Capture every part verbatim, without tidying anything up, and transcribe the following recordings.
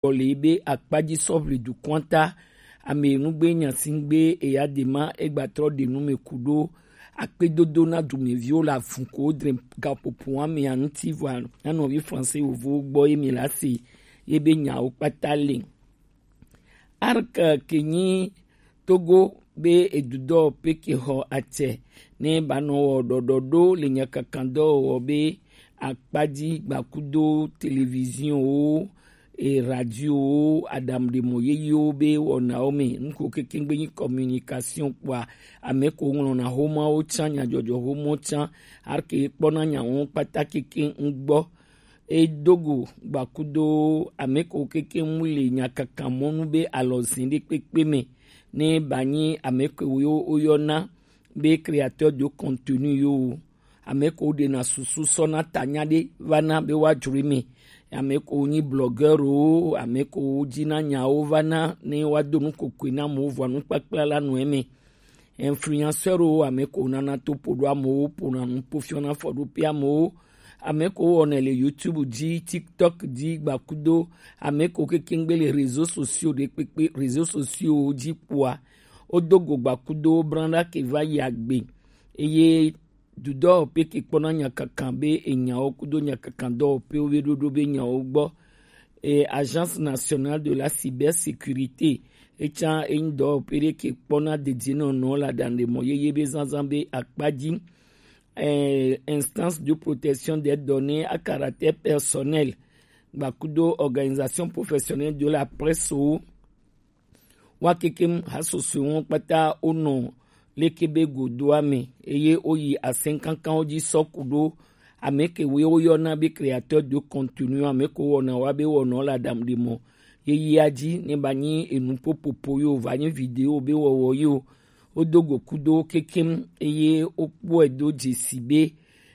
gbɔ le ebe akpa ji sɔ ʋli dukɔa ta. Ame nugbe nyasingbe eya de ma egbatrɔ ɖe nu me ku ɖo akpedodo na dumeviwo le avun ko wodre gaƒoƒo amea ŋuti vɔa na nɔvi Fransɛ yovowo gbɔ ye mi la se ye be nyawo kpata le. Arc ke nyi Togo be edudɔ pe ke xɔ atsɛ ne ba nɔ wɔ ɖɔɖɔ ɖo le nyakakandɔ wɔ be akpadzi gbakudo televisionwo, e radiowo, aɖaŋuɖemɔ yeyewo be wɔnawo me. Nuko kekengbe nyi communication kpɔa, ame ko ŋlɔna homawo tsã, nyadzɔdzɔ homo tsã, arke kpɔna nyawo kpata keke ŋgbɔ. Edogo gbakudo ame ko keke mu le nyakaka mɔnu be alɔ zin ɖe kpekpe me. Ne ba nyi ame ko wo yɔna be créateur de contenu yo. Ame ko ɖena susu sɔna tanya ɖe va na be woadzroe me. Ame ko nyi blogueur o, ame ko dzina nyawo va na ne woado nu kokoe na amewo vɔa nukpakpla la nɔ eme. Influenceur o, ame ko nana to ƒo ɖo amewo, ƒona nu ƒo fiɔna fɔɖoƒe amewo. Ame ko wɔnɛ le YouTube dzi, TikTok dzi, gbakudo ame ko kekengbe le réseaux sociaux ɖe kpekpe, réseaux sociaux dzi kpɔa, wodo go gbakudo branda ke va yi agbe. Eye dudɔwɔƒe ke kpɔna nyakaka be enyawo kudo nyakaka dɔwɔƒewo be ɖoɖo be nyawo gbɔ. E, Agence Nationale de la Cybersécurité, etsã enyi dɔwɔƒe ɖe ke kpɔna dedienɔnɔ le aɖaŋuɖemɔ yeye be zazã be akpa dzi. E, Instance de protection des données à caractère personnel, gbakudo Organisation professionnelle de la presse wo. Wa kekem hasosoewo kpata wonɔ leke be godoa me, eye woyi asɛnkankanwo dzi sɔ ku ɖo ame ke woe woyɔna be créateur de contenu, ame ko wɔna wa be wɔnɔ le aɖaŋuɖemɔ yeyea dzi, ne ba nyi enu popopo yo, va nyi video be wɔwɔ yo. Wodo go kudo kekem, eye wokpɔe do dzesi be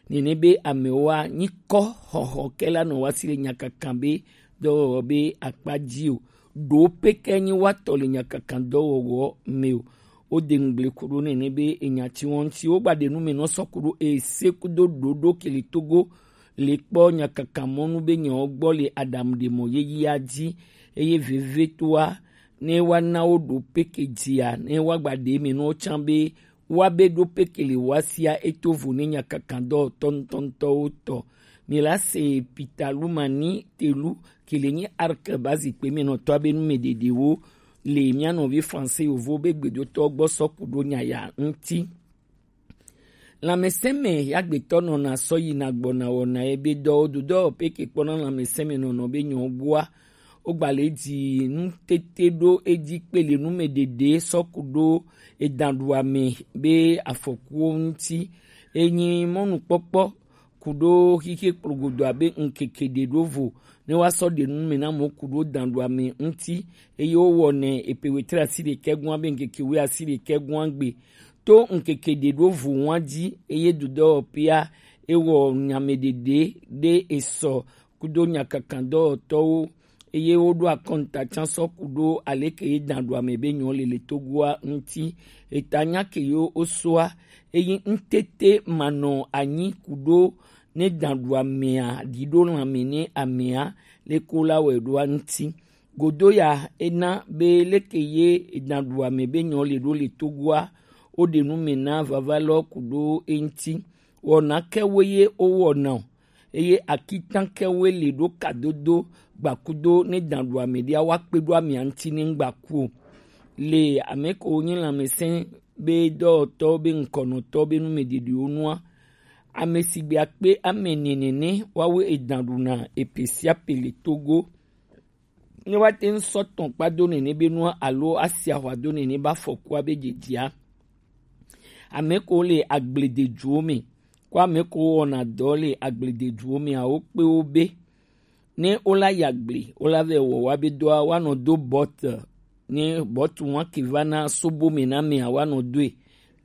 nene be amewoa nyi kɔ xɔxɔ ke la nɔ wa si le nyakaka be dɔwɔwɔ be akpa dzi o. Ɖo peke nyi wa tɔ le nyakaka dɔwɔwɔ me o. Wode ŋugble ku ɖo nene be enya tsi wɔn tsi wogba ɖe nu me nɔ sɔ ku ɖo ese kudo ɖoɖo ke le Togo le kpɔ nyakaka mɔnu be nyawo gbɔ le aɖaŋuɖemɔ yeyea dzi, eye vevetoa ne wa na wo ɖo peke dzia, ne wa gba ɖe me nɔ tsã be wa be ɖo peke le wa sia eto vo ne nyakaka dɔ tɔntɔntɔwo tɔ. Mi la se Peter Lumani Telu ke le nyi arke ba zikpe me nɔ tɔ be nu me ɖeɖewo le mia nɔvi Fransɛ yovo be gbedotɔ gbɔ sɔ ku ɖo nya ya ŋuti. Lãmesẽme ya gbetɔ nɔna sɔ yina gbɔna wɔna ye be dɔwo dudɔ pe ke kpɔna lãmesẽme nɔnɔ be nyɔ gbua. Wogba le dzi nu tete ɖo edzi kpe le nu me ɖeɖe sɔ ku ɖo edaɖua me be afɔkuwo ŋuti. Enyi mɔnukpɔkpɔ ku ɖo xixe kplogodo abe ŋkeke ɖe ɖo vo ne wa sɔ ɖe nu me na mo ku ɖo daɖua me ŋuti. Eye wowɔ ne epe wetre asi ɖekɛ gua be ŋkeke we asi ɖekɛ gua gbe to ŋkeke ɖe ɖo vo wa dzi, eye dudɔwɔƒea ewɔ nyame ɖeɖe ɖe esɔ kudo nyakakadɔwɔtɔwo, eye woɖo akɔnta tsã sɔ ku ɖo aleke ye daɖua me be nyɔ le le Togoa ŋuti. Eta nya ke yo wosoa, eye ŋtete manɔ anyi ku ɖo ne daɖua mea ɖi ɖo lãme ne amea le ko la wɛ ɖoa ŋuti. Godo ya ena be leke ye daɖua me be nyɔ le ɖo le Togoa, woɖe nu me na vava lɔ ku ɖo eŋuti. Wɔna ke wo ye wowɔna o, eye akitan ke wo le ɖo kadodo gbakudo ne daɖua me ɖia wa kpe ɖo amea ŋuti ne ŋgbaku o. Le ame ko nyi lãmesẽ be dɔwɔtɔ be ŋkɔnɔtɔ be nu me ɖeɖewo nua, ame sigbe akpe ame nene ne wawo edaɖuna epe sia pe le Togo. Ne woate ŋu sɔ tɔn kpa do nene be nua alo asi ahwa do nene be afɔkua be dzedzia. Ame ko le agblededuwo me, ko ame ko wɔna dɔ le agblededuwo me awo kpe wo be ne wola yi agble, wola vɛ wɔ wa be doa woanɔ do bɔt, ne bɔt wa ke va na sobo me na mea woanɔ doe.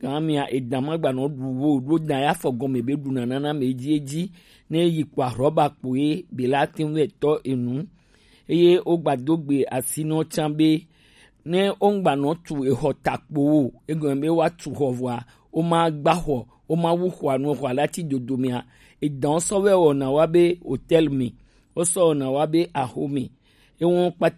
Gan mea edan ma gbanɔ ɖu wo ɖo dan ya fɔ gɔme be ɖuna nana me edzi edzi, ne yi kpɔ arɔba kpo ye be la te ŋu vɛ tɔ enu. Eye wogbado gbe asi nɔ tsã be ne wogbanɔ tu exɔ takpowo, egɔme be woatu xɔ vɔa, womagba xɔ, womawu xɔa nu, xɔa la ti dodomea. Edan sɔ vɛ wɔna wa be hôtel me, wosɔ wɔna wa be axome. Ewo kpata